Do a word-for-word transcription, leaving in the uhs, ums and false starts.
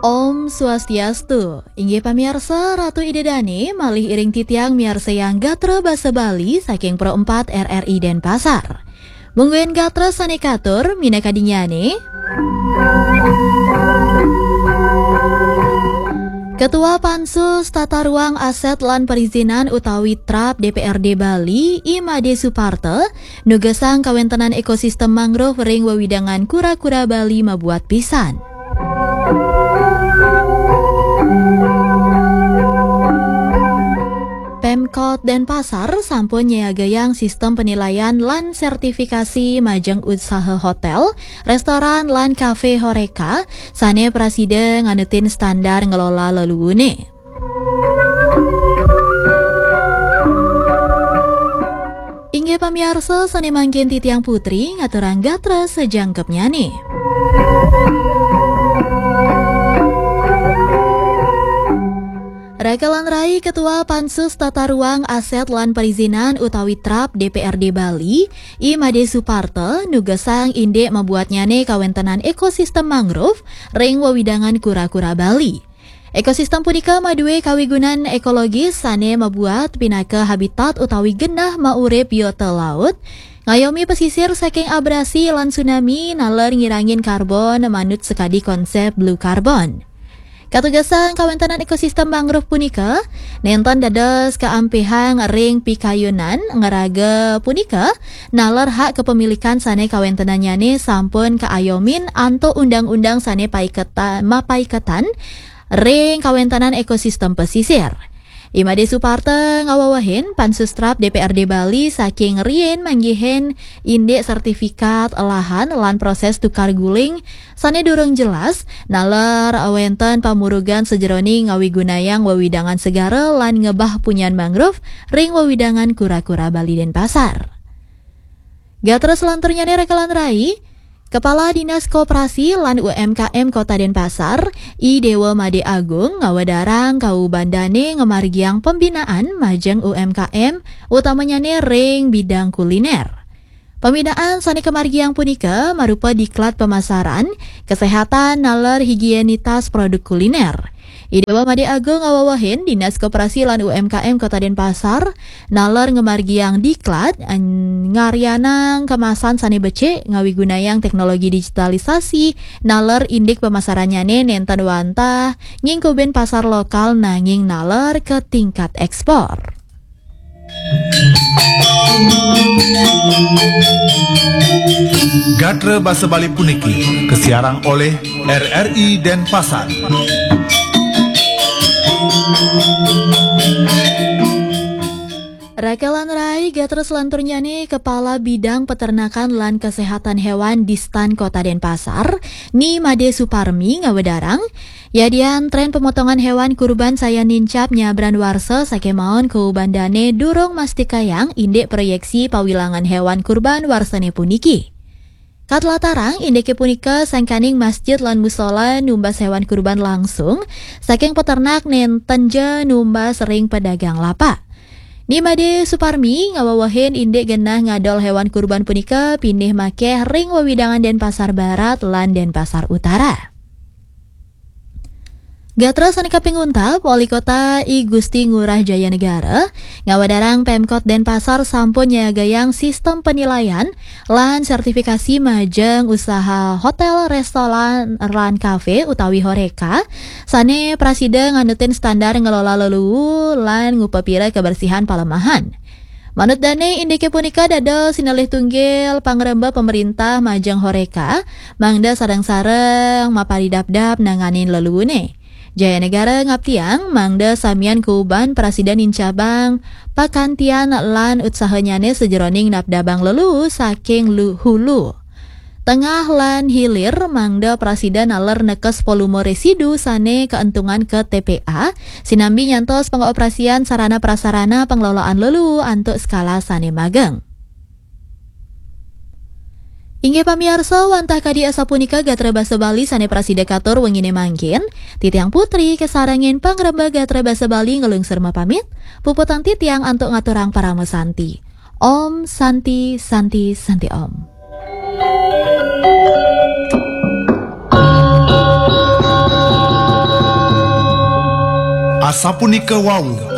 Om Swastiastu. Inggih pamiarsa, Ratu Ida Dane malih iring titiang miarsayang gatra basa Bali saking Pro empat R R I Denpasar. Mungguing gatra sane katur minakadingyane. Ketua Pansus Tata Ruang Aset lan Perizinan utawi trap D P R D Bali, I Made Suparta, nugesang kawentenan ekosistem mangrove ring wewidangan kura-kura Bali mabuat pisan. Pemkot Denpasar sampun nyiagayang sistem penilaian lan sertifikasi majeng usaha hotel, restoran, lan kafe Horeca sane prasida nganutin standar ngelola leluhune. Inggih pamiarsa, sane mangkin titiang Putri ngaturang gatra sajangkepnyane. Rakalan rai, Ketua Pansus Tata Ruang Aset lan Perizinan utawi trap D P R D Bali, I Made Suparta, nugesang indik mabuatnyane kawentenan ekosistem mangrove ring wewidangan kura-kura Bali. Ekosistem punika madue kawigunan ekologis sane mabuat pinaka habitat utawi genah maurip biota laut, ngayomi pesisir saking abrasi lan tsunami naler ngirangin karbon manut sekadi konsep blue carbon. Katugesang kawentenan ekosistem mangrove punika nenten dados kaampihang ring pikayunan ngeraga punika naler hak kepemilikan sane kawentenannyane sampun kaayomin antuk undang-undang sane paiketa-, mapaiketan ring kawentenan ekosistem pesisir. I Made Suparta ngawewehin Pansus Trap D P R D Bali saking riin manggihin indik sertifikat lahan lan proses tukar guling sane durung jelas, naler wenten pamurugan sajeroning ngawigunayang wewidangan segara lan ngebah punyan mangrove ring wewidangan kura-kura Bali Denpasar. Gatra selanturnyane rakalan rai, Kepala Dinas Koperasi lan U M K M Kota Denpasar, I Dewa Made Agung, ngawedarang kaubandane ngamargiang pembinaan majeng U M K M, utamanyane ring bidang kuliner. Pembinaan sane kamargiang punika marupa diklat pemasaran, kesehatan naler higienitas produk kuliner. I Dewa Made Agung ngawewehin Dinas Koperasi lan U M K M Kota Denpasar naler ngamargiang diklat, an-, ngaryanang kemasan sane becik ngawigunayang teknologi digitalisasi, naler indik pemasarannyane nenten wantah nyingkubin pasar lokal nanging naler ke tingkat ekspor. Gatra basa Bali puniki kasiarang oleh R R I Denpasar. Rakalan rai, gatra selanturnyane Kepala Bidang Peternakan lan Kesehatan Hewan Distan Kota Denpasar, Ni Made Suparmi ngawedarang, yadian tren pemotongan hewan kurban sayan nincap nyabran warsa sakemaon kaubandane durung mastikayang indik proyeksi pawilangan hewan kurban warsane puniki. Katlatarang indike punika sangkaning masjid lan musola numbas hewan kurban langsung saking peternak nenten ja numbas ring pedagang lapak. Ni Made Suparmi ngawewehin indik genah ngadol hewan kurban punika pinih makeh ring wewidangan Denpasar Barat lan Denpasar Utara. Gatra sane kaping untat, Wali Kota I Gusti Ngurah Jayanegara ngawedarang Pemkot Denpasar sampun nyagayang sistem penilaian lan sertifikasi majeng usaha hotel, restoran, lan kafe utawi Horeca sane prasida nganutin standar ngelola leluu lan ngupapira kebersihan palemahan. Manut dane, indike punika dados sinalih tunggil pangremba pemerintah majeng Horeca, mangda sareng-sareng maparidabdab nanganin leluune. Jayanegara ngaptiang mangda samian kuuban prasida nincabang pakantian lan utsahanyane sajeroning napdabang leluu saking lu-, hulu, tengah lan hilir, mangda prasida naler nekes volume residu sane kaentungan ke T P A, sinambi nyantos pangoperasian sarana prasarana pengelolaan leluu antuk skala sane mageng. Inggih pamiarsa, wantah kadi asapunika gatra basa Bali sane prasida katur wengine mangkin, titiang Putri kasarengin pangremba gatra basa Bali ngelungsur mapamit, puputang titiang antuk ngaturang parama santi. Om Santi, Santi, Santi Om. Sapunica Wau.